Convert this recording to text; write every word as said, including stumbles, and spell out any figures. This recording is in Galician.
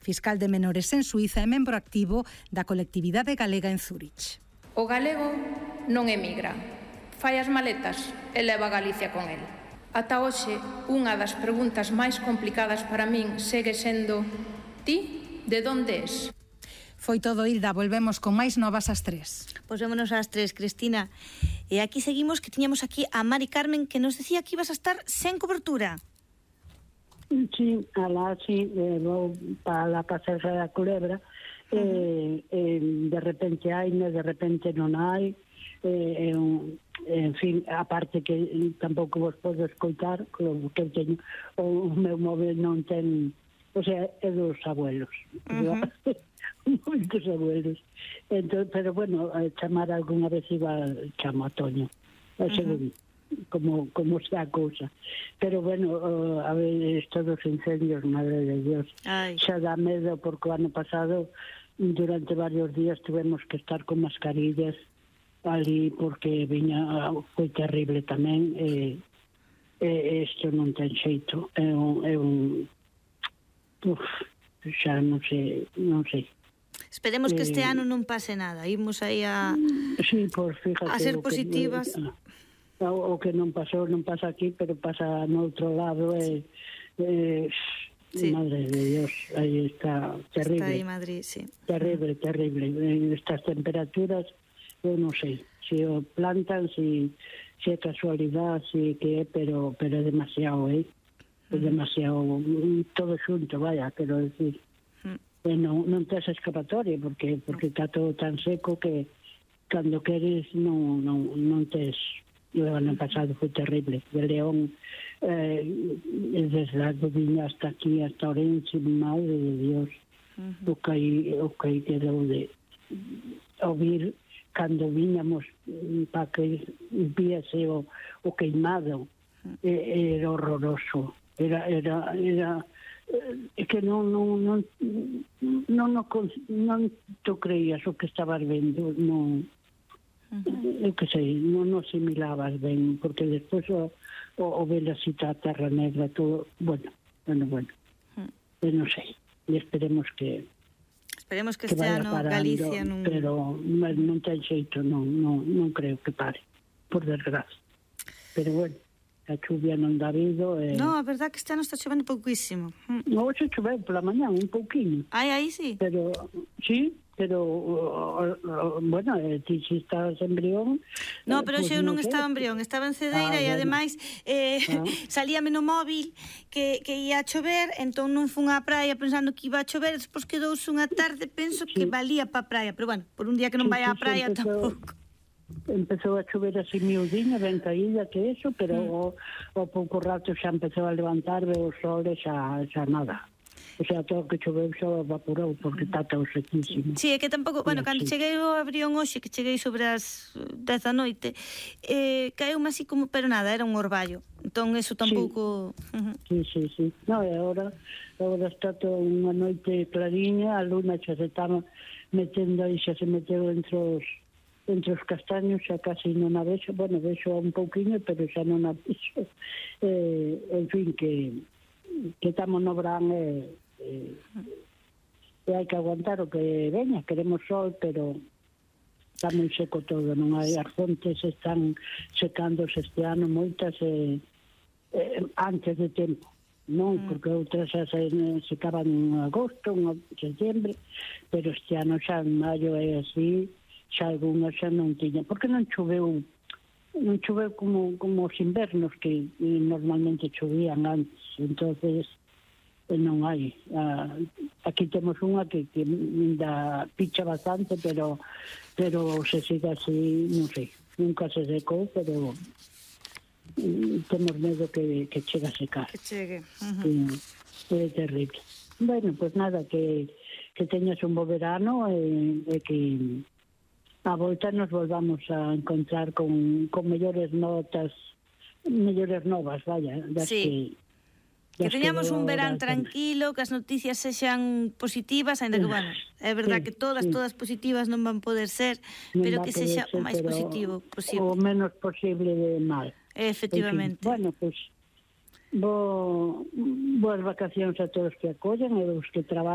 fiscal de menores en Suiza e membro activo da colectividade galega en Zúrich. O galego non emigra, fai as maletas e leva a Galicia con el. Ata hoxe, unha das preguntas máis complicadas para min segue sendo: ti, de onde és? Foi todo, Hilda, volvemos con máis novas ás tres. Pois vémonos ás tres, Cristina. E aquí seguimos, que tiñamos aquí a Mari Carmen, que nos decía que ibas a estar sen cobertura. Sí, alá, sí, eh, vou para la Pasarela da Culebra, uh -huh. eh, eh, de repente hai, de repente non hai, eh, eh, en fin, aparte que tampouco vos podo escoitar, como que teño, o meu móvil non ten, o sea, é dos abuelos. Uh -huh. Moitos abuelos. Entón, pero bueno, a chamar algunha vez iba, chamo a Toño, a segundo, uh -huh. como, como sea a cousa. Pero bueno, uh, a ver, estos dos incendios, madre de Dios, Ay. xa dá medo, porque o ano pasado, durante varios días, tuvemos que estar con mascarillas ali, porque viña, foi terrible tamén, e eh, isto non ten xeito, é un, é un uf, xa non sei, non sei. Esperemos que este eh, ano non pase nada. Imos aí a, sí, pues fíjate, a ser positivas. Que, o, o que non pasou, non pasa aquí, pero pasa no outro lado. E, eh, sí. Madre de Dios, aí está terrible. Está aí Madrid, sí. Terrible, terrible. Estas temperaturas, eu non sei se o plantan, se si, si é casualidade, se si que é, pero, pero é demasiado, eh? É demasiado, todo xunto, vaya, quero decir. E non, non tes escapatoria, porque porque está todo tan seco que cando queres non, non, non tes. O ano pasado foi terrible, de León, eh, desde a Viña hasta aquí, hasta Orense, madre de Dios, uh -huh. o que aí, o que aí quedou de ouvir cando viñamos para que viese o, o queimado, eh, era horroroso, era, era, era é que non non non non non, non tu creías o que estabas vendo, non, uh-huh. eu que sei, non non asimilabas ben, porque despois o, o, o ver a cita a Terra Negra, todo, bueno, bueno, bueno, uh-huh. eu non sei, e esperemos que esperemos que, que este ano parando, Galicia non... pero non ten xeito, non, non, non creo que pare, por desgracia, pero bueno, a chuvia non dá vido. Eh... No, a verdad que este ano está chovendo pouquísimo. Non, hoxe choveu pola mañá, un pouquinho. Ai, aí sí. Pero, sí, pero, uh, uh, bueno, eh, ti si estás en Brión... No, pero pues, eu non no estaba en Brión, estaba en Cedeira, ah, e bueno. Ademais eh, ah. salíame no móvil que, que ia a chover, entón non fun á praia pensando que iba a chover, despois quedouse unha tarde, penso sí. que valía pa praia, pero bueno, por un día que non sí, vai á praia sí, tampouco. Empezou a chover así miudinha, ben caída que eso, pero mm. o, o pouco rato xa empezou a levantar, ve o sol e xa, xa nada. O sea, todo que choveu xa evaporou, porque está todo sequísimo. Sí, é que tampouco, bueno, cando cheguei ao Brión hoxe, que cheguei sobre as dez da noite, eh, caeu-me así como, pero nada, era un orballo. Entón, eso tampouco... Sí, uh -huh. sí, sí, sí. No, e agora, agora está todo unha noite clariña, a luna xa se está metendo aí, xa se meteu entre os entre os castaños, xa casi non a vexo, bueno, vexo un pouquiño, pero xa non a vexo. Eh, en fin, que que estamos no verán e eh, eh, hai que aguantar o que veña, queremos sol, pero está moi seco todo, non hai, as fontes están secándose este ano moitas eh, eh, antes de tempo, non, mm. porque outras xa se secaban en agosto, en setembro, pero este ano xa en maio é así, xa algunhas xa non tiña, porque non choveu non choveu como, como os invernos que normalmente chovían antes, entonces non hai. Uh, aquí temos unha que, que ainda picha bastante, pero pero se sigue así, non sei, nunca se secou, pero um, temos medo que, que chegue a secar. Que chegue. Uh-huh. Sí, é terrible. Bueno, pues nada, que, que teñas un bo verano e, e que a volta nos volvamos a encontrar con, con mellores notas, mellores novas, vaya, das sí. que... Que teñamos un verán tranquilo, que as noticias sexan positivas, ainda que, bueno, é verdad sí, que todas, sí. todas positivas non van poder ser, non pero que sexa ser, o máis positivo posible. O menos posible de mal. Efectivamente. En fin, bueno, pues, bo, boas vacacións a todos que acollan e os que traballan.